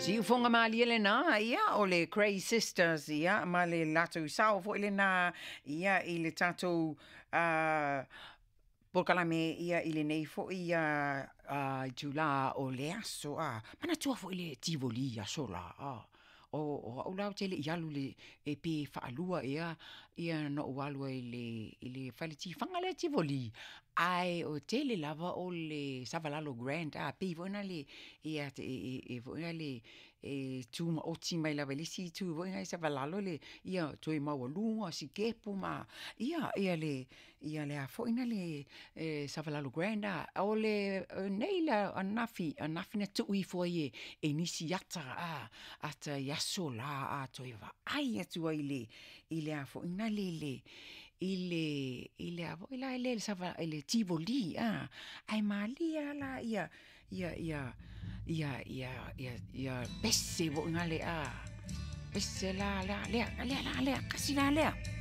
Siufoga malie lena, ia, o le Grey Sisters, ia, ma le latou sao foi lena, ia, i le tatou polokalame, ia, i lenei foi itula o le aso, a. Manatua foi le Tivoli i aso la, a. O au la ou te le i alu i le, e pe faalua ea ona ou alu ai i le fale tifaga lea Tivoli, ae o tele lava o le Savalalo Grand, a, pei foi lea e tumaoti mai lava i le isi itu foi lea i Savalalo le, ia toe maualuga sikepu ma, ia, ia le, ia le a foi na le Savalalo Grand, a. O lenei la ananafi, ananafi na tuu ifo ai e nisi ata, a, ata i aso la, a toe vaai atu ai i le, i le a foi na le, i le, i le a foi la le, i le Tivoli, a, ae malie lava la ia, ia, ia, ia, ia, ia, ia pese foi na le, a, pese la, la, lea, lea, la, lea, kasi la lea.